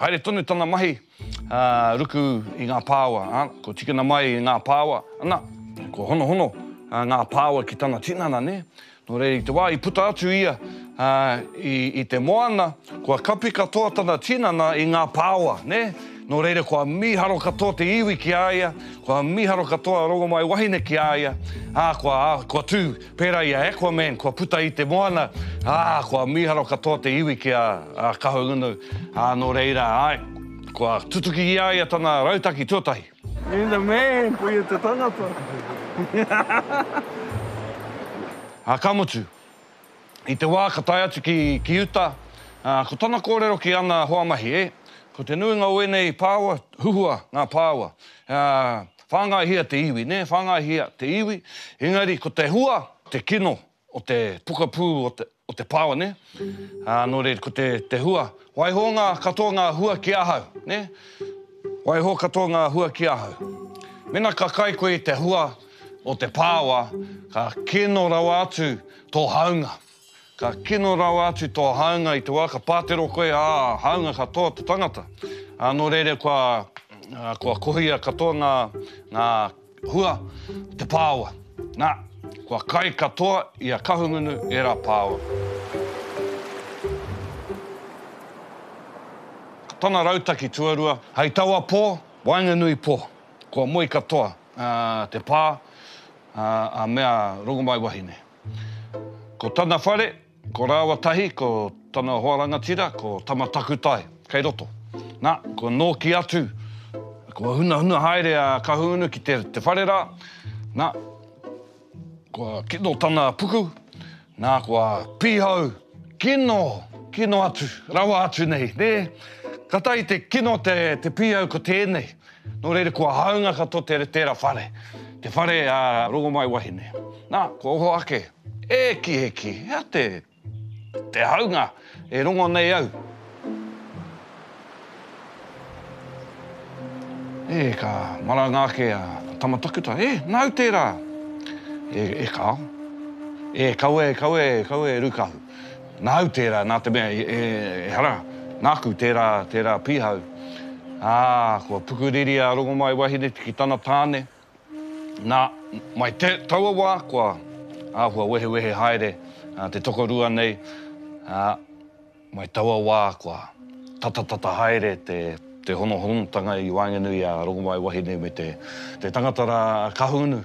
Haere tonu tana mahi, ā, ruku i ngā pāua, ā, kua tikina mai i ngā pāua, ana, kua honohono ngā pāua ki tana tinana, nē. Nō reira, i te wā i puta atu ia, ā, i, i te moana, kua kapi katoa tana tinana i ngā pāua, nē. Nō reira, kua mīharo katoa te iwi ki a ia, kua mīharo katoa a Rongomaiwahine ki a ia, ā, kua, ā, kua tū pērā i a Aquaman, kua puta i te moana, ā, kua mīharo katoa te iwi ki a, a Kahungunu, ā, nō reira, āe, kua tutuki i a ia tana rautaki tuatahi. You're the man, koia te tangata. Ā, ka mutu, I te wā ka tae atu ki, ki uta, ā, ko tana kōrero ki ana hoa mahi, e, ko te nuinga o ēnei pāua, huhua ngā pāua, ā, whāngaihia te iwi, nē, whāngaihia te iwi, engari ko te hua, te kino o te pokapū o te, o te pāua, nē, ā, nō reira, ko te, te hua, waiho ngā, katoa ngā hua ki ahau, nē, waiho katoa ngā hua ki ahau. Mēnā ka kai koe i te hua o te pāua, ka kino rawa atu tō haunga. Ka kino rawa atu tō haunga i te wā ka pātero koe, ā, haunga katoa te tangata. Ā, nō reira kua, kua kohia katoa ngā, ngā hua o te pāua. Nā, kua kai katoa i a Kahungunu ērā pāua. Ko tana rautaki tuarua, hei taua pō, waenganui pō, kua moe katoa te pā, a mea Rongomaiwahine. Ko tana whare, ko rāua tahi, ko tana hoa rangatira, ko Tama Takutai, kei roto. Nā, kua nōki atu, kua hunahuna haere a Kahungunu ki te, te whare rā, nā, kua kino tana puku, nā, kua pīhau, kino, kino atu, rawa atu nei, nē? Katahi te kino te, te pīhau ko tēnei. Nō reira, kua hāunga katoa te, tērā whare, te whare a Rongomaiwahine. Nā, kua oho ake, E ki, e ki, hea te, te haunga e rongo nei au? E, ka maranga ake a Tamatakuta, E, nāu tērā? E, e kāo. E, kaua e, kaua e, kaua e Rūkahu. Nāu tērā, nā te mea, e, ehara, nāku tērā, tērā pīhau. Ā, kua pukuriri a Rongomaiwahine ki tana tāne. Nā, mai te, taua wā, kua āhua wehewehe haere te tokorua nei, ā, mai taua wā, kua tatatata haere te, te honohonotanga i waenganui i a Rongomaiwahine me te, te tangata rā a Kahungunu.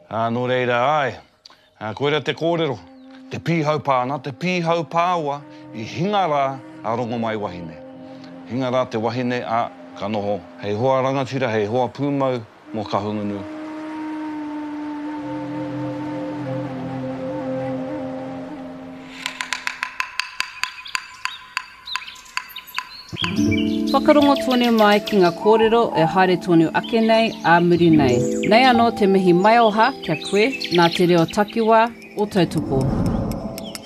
Ā, nō reira, āe, Ā, koirā te kōrero, te pīhau pā, nā te pīhau pāua i hinga rā a Rongomaiwahine. Hinga rā te wahine, ā, ka noho hei hoa rangatira, hei hoa pūmau mō Kahungunu. Whakarongo tonu mai ki nga kōrero e haere tonu ake nei ā muri nei. Nei anō te mihi maioha kia koe nā te reo takiwā o Tautoko.